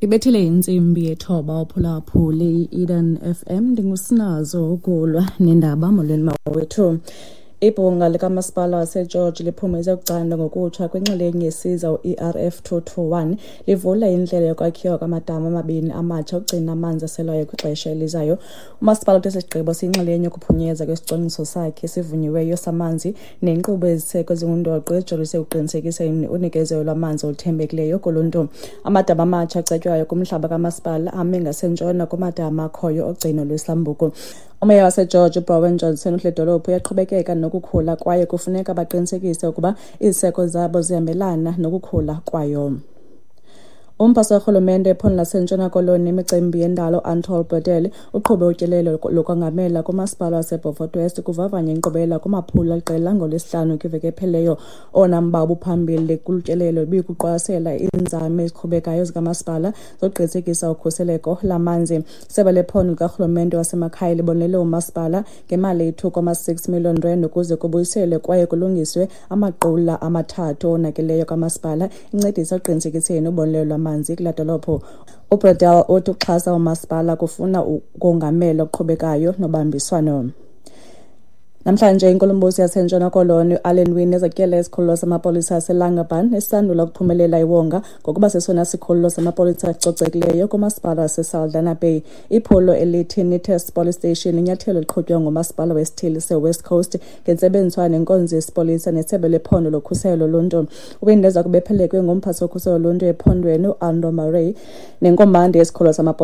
Ibethile intsimbi yethoba uphulaphuli i-Eden FM. Ndingusinazo ukulwa nendaba. Molweni mawethu. Ibhunga likamasipala waseGeorge liphumeze ukucandwa ngokutsha kwinxalenye yesiza u-ERF 221, livula indlela yokwakhiwa kwamadama amabini amatsha okugcina amanzi aselwayo kwixesha elizayo. Umasipala uthe sigqibo siyinxalenye yokuphunyezwa kwesicwangciso sakhe esivunyiweyo samanzi nenkqubo eziseko ezingundoqo ezijolise ekuqinisekiseni unikezelo lwamanzi oluthembekileyo kuluntu. Amadama amatsha acetywayo kumhlaba kamasipala ame ngasentshona kumadama akhoyo ogcino lwesambuku. Umeya waseGeorge uBrowen Johnson uthi le dolophu iyaqhubekeka nokukhula kwaye kufuneka baqinisekise ukuba iziseko zabo zihambelana nokukhula kwayo. Umphathi karhulumente ephondo laseNtshona Koloni imicimbi yendalo Anatole Bredel uqhube utyelelo lokongamela kumasipala waseBeaufort West kuvavanya inkqubela kumaphulo aliqela ngoLwesihlanu kwiveki ephelileyo. Owona mba ubuphambili kolu tyelelo ibikuqwalasela iinzame eziqhubekayo zikamasipala zokuqinisekisa ukhuseleko lamanzi. Isebe lephondo likarhulumente wasemakhaya libonelele umasipala ngemali eyi-2.6 million rand ukuze kubuyiselwe kwaye kulungiswe amaqula amathathu owonakeleyo kamasipala, incedisa ekuqinisekiseni ubonelelo lwamanzi kula dolophu. UBredel uthi ukuxhasa umasipala kufuna ukongamela okuqhubekayo nobambiswano. Namhlanje inkulumbuso yaseNtshona Koloni uAllan Winde izakutyela isikhululo samapolisa aseLangerbaan esisandula ukuphumelela iwonga ngokuba sesona sikhululo samapolisa esicocekileyo kumasipala waseSaldanha Bay. Iphulo elithi Neatest Police Station linyathelo eliqhutywa ngumasipala wesithili seWest Coast ngentsebenziswano nenkonzo yesipolisa nesebe lephondo lokhuselo loluntu. UWinde eza kube ephelekwe ngumphathi wokhuselo loluntu ephondweni uAndro Murray nenkomanda yesikhululo samapolisa.